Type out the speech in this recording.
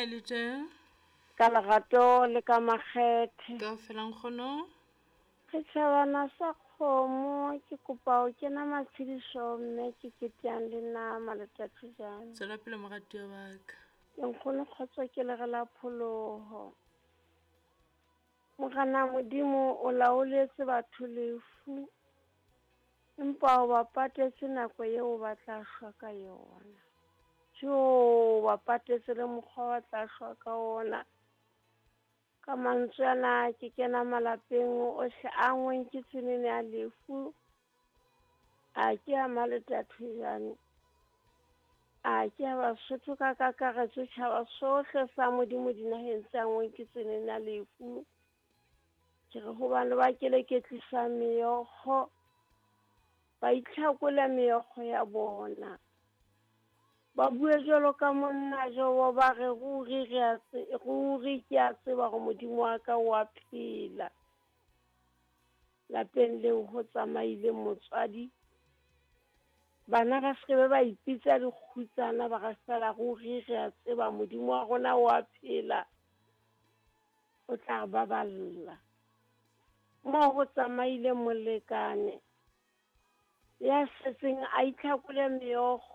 Kae le teng? Ka lerato le ka makgethe. Kaofela nkgono. Setjhabana sa kgomo ke kopa ho kena matshediso mme ke keteang le nama le Tatjejane. Tswela pele moratuwa wa ka. Ke nkgono kgotso ke lere la pholoho. Morena Modimo o laoletse batho lefu, empa o ba patetse nako eo ba tla shwa ka yona. Jo, ba patetse le mokgwa ba tla shwa ka ona. Ka mantswe ana ke kena malapeng ohle a ngweng ke tsenene ya lefu. A ke a Maletatjejane. A ke a Basotho ka kakaretso tjhaba sohle sa Modimo dinaheng tse angweng ke tsenene ya lefu. Ke re hobane ba keleketlisa meokgo, ba itlhakole meokgo ya bona. Ba bue jwalo ka monna Jobo ba re ruri re a ruri ke a tseba hore Modimo wa ka o a phela. Lapeng leo ho tsamaile motswadi. Bana ba se be ba ipitsa dikgutsana ba re fela ruri re a tseba Modimo wa rona o a phela. O tla re baballa. Moo ho tsamaile molekane ya setseng a itlhakole meokgo.